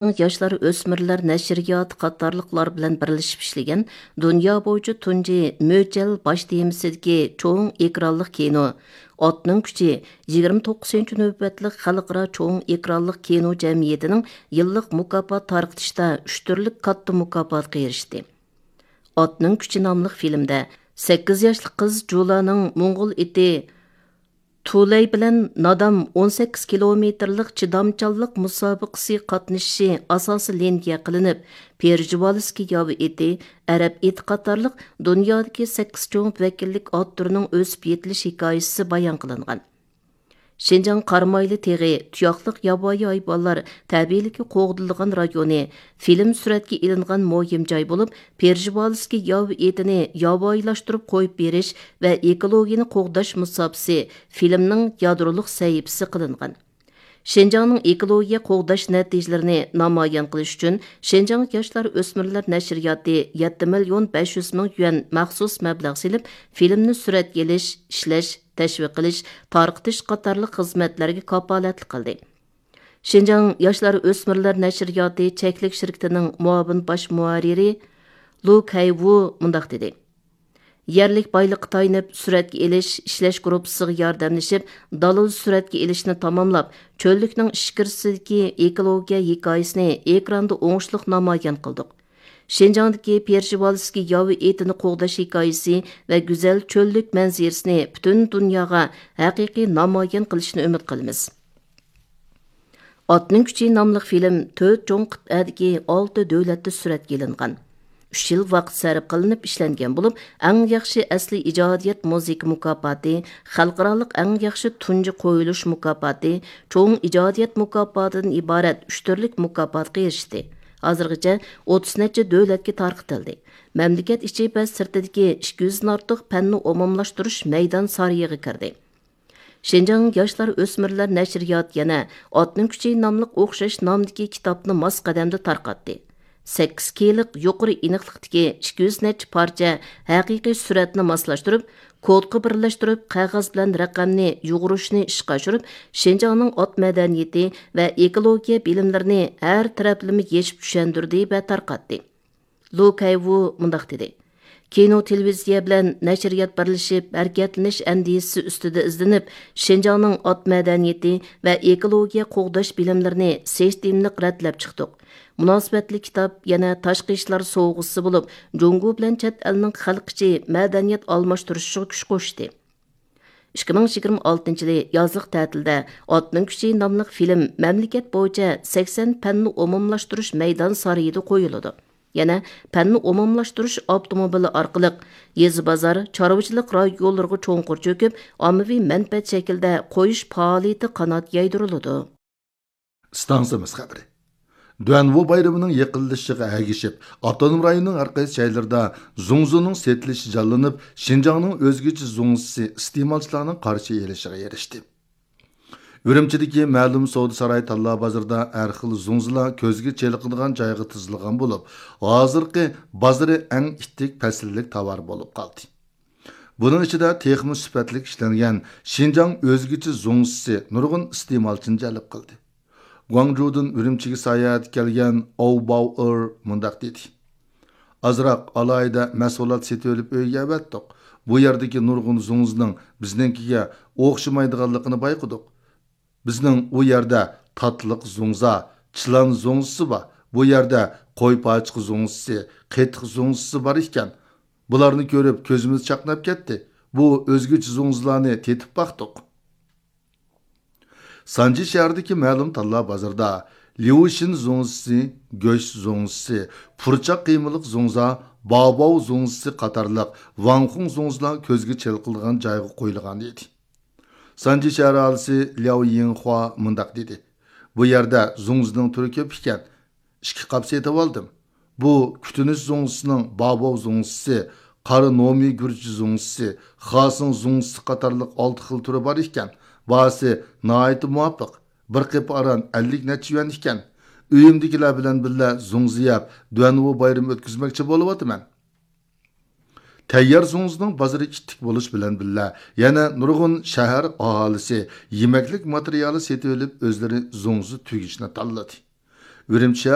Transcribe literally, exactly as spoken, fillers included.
ياشلار ئۆسمۈرلەر نەشرىياتى قاتارلىقلار بىلەن بىرلىشىپ ئىشلىگەن دۇنيا بويىچە تۇنجى مۆچەل باش تېمىسىدىكى چوڭ ئېكرانلىق كىنو، ئاتنىڭ كۈچى، يىگىرمە توققۇزىنچى نۆۋەتلىك خەلقئارا چوڭ ئېكرانلىق كىنو جەمئىيىتىنىڭ يىللىق مۇكاپات تارقىتىشتا ئۈچ تۈرلۈك كاتتا مۇكاپاتقا ئېرىشتى. ئاتنىڭ كۈچى ناملىق فىلىمدە سەككىز ياشلىق قىز جۇلانىڭ موڭغۇل ئېتى تۇلەي بىلەن نادام ئون سەككىز كىلومېتىرلىق چىدامچانلىق مۇسابىقىسى قاتنىشىشى ئاساسىي لىنىيە قىلىنىپ، پېرژىۋالىسكىي ياۋا ئېتى، ئەرەب ئېتى قاتارلىق دۇنيادىكى سەككىز چوڭ ۋەكىللىك ئات تۈرىنىڭ ئۆسۈپ يېتىلىش ھېكايىسى بايان قىلىنغان. شىنجاڭ قارامايلى تېغى، تۇياقلىق ياۋايى ھايۋانلار تەبىئىيلىكى قوغدىلىدىغان رايونى، فىلىم سۈرەتكە ئېلىنغان مۇھىم جاي بولۇپ، پېرژىۋالىسكىي ياۋا ئېتىنى ياۋايىلاشتۇرۇپ قويۇپ بېرىش ۋە ئېكولوگىيەنى قوغداش مۇساپىسى فىلىمنىڭ يادرولۇق سەھىپىسى قىلىنغان. شىنجاڭنىڭ ئېكولوگىيە قوغداش نەتىجىلىرىنى نامايان قىلىش ئۈچۈن، شىنجاڭ ياشلار ئۆسمۈرلەر نەشرىياتى يەتتە مىليون بەش يۈز مىڭ يۈەن مەخسۇس مەبلەغ سېلىپ، فىلىمنى سۈرەتكە ئېلىش، ئىشلەش، تەشۋىق قىلىش، تارقىتىش قاتارلىق خىزمەتلەرگە كاپالەتلىك قىلدى. شىنجاڭ ياشلار ئۆسمۈرلەر نەشرىياتى چەكلىك شىركىتىنىڭ مۇئاۋىن باش مۇھەررىرى لۇ كەيۋۇ مۇنداق دېدى: يەرلىك بايلىققا تايىنىپ سۈرەتكە ئېلىش، ئىشلەش گۇرۇپپىسىغا ياردەملىشىپ، دالىل سۈرەتكە ئېلىشنى تاماملاپ، چۆللۈكنىڭ ئىچكىرىسىدىكى ئېكولوگىيە ھېكايىسىنى ئېكراندا ئوڭۇشلۇق نامايان قىلدۇق. شىنجاڭدىكى پېرژىۋالىسكىي ياۋا ئېتىنى قوغداش ھېكايىسى ۋە گۈزەل چۆللۈك مەنزىرىسىنى پۈتۈن دۇنياغا ھەقىقىي نامايان قىلىشنى ئۈمىد قىلىمىز. ئاتنىڭ كۈچى ناملىق فىلىم تۆت چوڭ قىتئەدىكى ئالتە دۆلەتتە سۈرەتكە ئېلىنغان. ئۈچ يىل ۋاقىت سەرپ قىلىنىپ ئىشلەنگەن بولۇپ، ئەڭ ياخشى ئەسلىي ئىجادىيەت مۇزىكا مۇكاپاتى، خەلقئارالىق ئەڭ ياخشى تۇنجى قويۇلۇش مۇكاپاتى، چوڭ ئىجادىيەت مۇكاپاتىدىن ئىبارەت ئۈچ تۈرلۈك مۇكاپاتقا ئېرىشتى. ھازىرغىچە ئوتتۇز نەچچە دۆلەتكە تارقىتىلدى. مەملىكەت ئىچى ۋە سىرتىدىكى ئىككى يۈزدىن ئارتۇق پەننى ئومۇملاشتۇرۇش مەيدان سارىيىغا كىردى. شىنجاڭ ياشلار ئۆسمۈرلەر نەشرىياتى يەنە ئاتنىڭ كۈچى ناملىق ئوخشاش نامدىكى كىتابنى ماس قەدەمدە تارقاتتى. سەككىز كېيلىق يۇقىرى ئېنىقلىقتىكى ئىككى يۈز نەچچە پارچە ھەقىقىي سۈرەتنى ماسلاشتۇرۇپ، كودقا بىرلەشتۈرۈپ، قەغەز بىلەن رەقەمنى يۇغۇرۇشنى ئىشقا ئاشۇرۇپ، شىنجاڭنىڭ ئات مەدەنىيىتى ۋە ئېكولوگىيە بىلىملىرىنى ھەر تەرەپلىمە يېشىپ چۈشەندۈردى ۋە تارقاتتى. لۇ كەيۋۇ مۇنداق دېدى: كىنو، تېلېۋىزىيە بىلەن نەشرىيات بىرلىشىپ، ھەرىكەتلىنىش ئەندىزىسى ئۈستىدە ئىزدىنىپ، شىنجاڭنىڭ ئات مەدەنىيىتى ۋە ئېكولوگىيە قوغداش بىلىملىرىنى سىستېمىلىق رەتلەپ چىقتۇق. مۇناسىۋەتلىك كىتاب يەنە تاشقى ئىشلار سوۋغىسى بولۇپ، جۇڭگو بىلەن چەت ئەلنىڭ خەلق ئىچى مەدەنىيەت ئالماشتۇرۇشىغا كۈچ قوشتى. ئىككى مىڭ يىگىرمە ئالتىنچى يىلى يازلىق تەتىلدە ئاتنىڭ كۈچى ناملىق فىلىم مەملىكەت بويىچە سەكسەن پەننى ئومۇملاشتۇرۇش مەيدان سارىيىدا قويۇلىدۇ. يەنە پەننى ئومۇملاشتۇرۇش ئاپتوموبىلى ئارقىلىق يېزا، بازار، چارۋىچىلىق رايونلىرىغا چوڭقۇر چۆكۈپ، ئاممىۋى مەنپەئەت شەكلىدە قويۇش پائالىيىتى قانات يايدۇرۇلىدۇ. ئىستانسىمىز خەۋىرى. دۇەنۋۇ بايرىمىنىڭ يېقىنلىشىشىغا ئەگىشىپ، ئاپتونوم رايوننىڭ ھەر قايسى جايلىرىدا زۇڭزىنىڭ سېتىلىشى جانلىنىپ، شىنجاڭنىڭ ئۆزگىچە زۇڭزىسى ئىستېمالچىلارنىڭ قارشى ئېلىشىغا ئېرىشتى. ئۈرۈمچىدىكى مەلۇم سودا ساراي تاللا بازىرىدا ھەر خىل زۇڭزىلار كۆزگە چېلىقىدىغان جايغا تىزىلغان بولۇپ، ھازىرقى بازىرى ئەڭ ئىتتىك پەسىللىك تاۋار بولۇپ قالدى. بۇنىڭ ئىچىدە تېخىمۇ سۈپەتلىك ئىشلەنگەن شىنجاڭ ئۆزگىچە زۇڭزىسى نۇرغۇن ئىستېمالچىنى جەلپ قىلدى. گۇاڭجۇدىن ئۈرۈمچىگە ساياھەتكە كەلگەن ئاۋ باۋ ئېر مۇنداق دېدى: ئازراق ئالاھىدە مەھسۇلات سېتىۋېلىپ ئۆيگە ئەۋەتتۇق. بۇ يەردىكى نۇرغۇن زۇڭزىنىڭ بىزنىڭكىگە ئوخشىمايدىغانلىقىنى بايقىدۇق. بىزنىڭ ئۇ يەردە تاتلىق زۇڭزا، چىلان زۇڭزىسى بار. بۇ يەردە قوي پاچىقى زۇڭزىسى، قېتىق زۇڭزىسى بار ئىكەن. بۇلارنى كۆرۈپ كۆزىمىز چاقناپ كەتتى. بۇ ئۆزگىچە زۇڭزىلارنى تېتىپ باقتۇق. سانجى شەھىرىدىكى مەلۇم تاللا بازىرىدا ليۇشىن زۇڭزىسى، گۆش زۇڭزىسى، پۇرچاق قىيمىلىق زۇڭزا، باۋباۋ زۇڭزىسى قاتارلىق ۋاڭخۇڭ زۇڭزىلار كۆزگە چېلىقىدىغان جايغا قويۇلغان ئىدى. سانجى شەھەر ئاھالىسى لياۋ يىڭخۇا مۇنداق دېدى: بۇ يەردە زۇڭزىنىڭ تۈرى كۆپ ئىكەن. ئىككى قاپ سېتىۋالدىم. بۇ كۈتۈنۈش زۇڭزىسىنىڭ باۋباۋ زۇڭزىسى، قارا نومى گۈرچى زۇڭزىسى، خاسىڭ زۇڭزىسى قاتارلىق ئالتە خىل تۈرى بار ئىكەن. باھاسى ناھايىتى مۇۋاپىق. بىر قېپى ئاران ئەللىك نەچچە يۈەن ئىكەن. ئۆيۈمدىكىلەر بىلەن بىللە زۇڭزا يەپ، دۇەنۋۇ بايرىمى ئۆتكۈزمەكچى بولۇۋاتىمەن. تەييار زۇڭزىنىڭ بازىرى ئىتتىك بولۇش بىلەن بىللە، يەنە نۇرغۇن شەھەر ئاھالىسى يېمەكلىك ماتېرىيالى سېتىۋېلىپ، ئۆزلىرى زۇڭزا تۈگۈشنى تاللىدى. ئۈرۈمچى